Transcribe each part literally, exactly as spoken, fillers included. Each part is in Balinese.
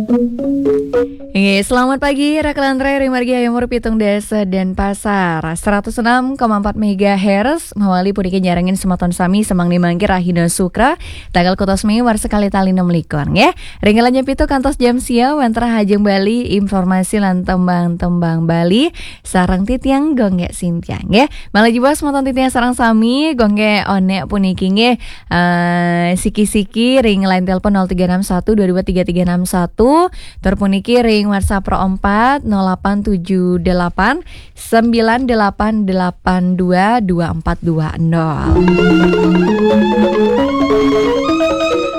Oke, selamat pagi, Raka Lantre, ring margi Hayam Wuruk, Pitung Dasa, Denpasar. Seratus enam koma empat megahertz, mawali puniki nyarengin semeton sami semeng mangkin rahina Sukra, tanggal kutus Mei, warsa kalih tali enam likur, nggih. Ring jam pitu kantos jam sia, wenten rahajeng Bali, informasi lan tembang-tembang Bali, sareng titiang Gung Gek Sintia, nggih. Malih jebos semeton titiang sareng sami, Gung Gek Onek puniki, nggih. Eh, siki-siki ring line telepon nol tiga enam satu dua dua tiga tiga enam satu, tur puniki ring WhatsApp Pro empat nol delapan tujuh delapan sembilan delapan delapan dua dua empat dua nol.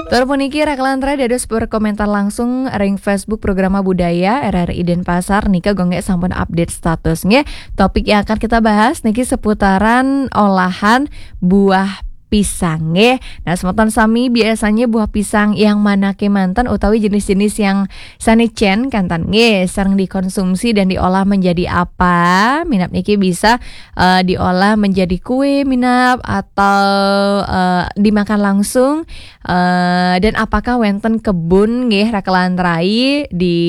Tur puniki Raka Lantre dados berkomentar langsung ring Facebook Programa Budaya R R I Denpasar, nika Gung Gek sampun update status, nggih. Topik yang akan kita bahas niki seputaran olahan buah pisang, nggih. Nah, semeton sami, biasanya buah pisang yang mana kemanten utawi jenis-jenis yang sane cen kanten, nggih, sering dikonsumsi dan diolah menjadi apa? Minab niki bisa eh, diolah menjadi kue minab atau eh, dimakan langsung, eh, dan apakah wenten kebun, nggih, Raka Lantre, di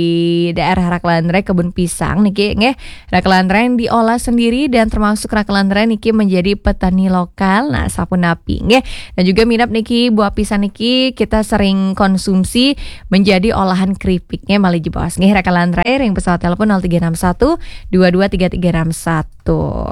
daerah Raka Lantre, kebun pisang niki, nggih, Raka Lantre yang diolah sendiri dan termasuk Raka Lantre niki menjadi petani lokal. Nah, sapunapi, nggih. Dan juga minab niki, buah pisang niki kita sering konsumsi menjadi olahan keripik, nggih, malih jebos, nggih, Raka Lantre, ring pesawat telepon nol tiga enam satu dua dua tiga tiga enam satu.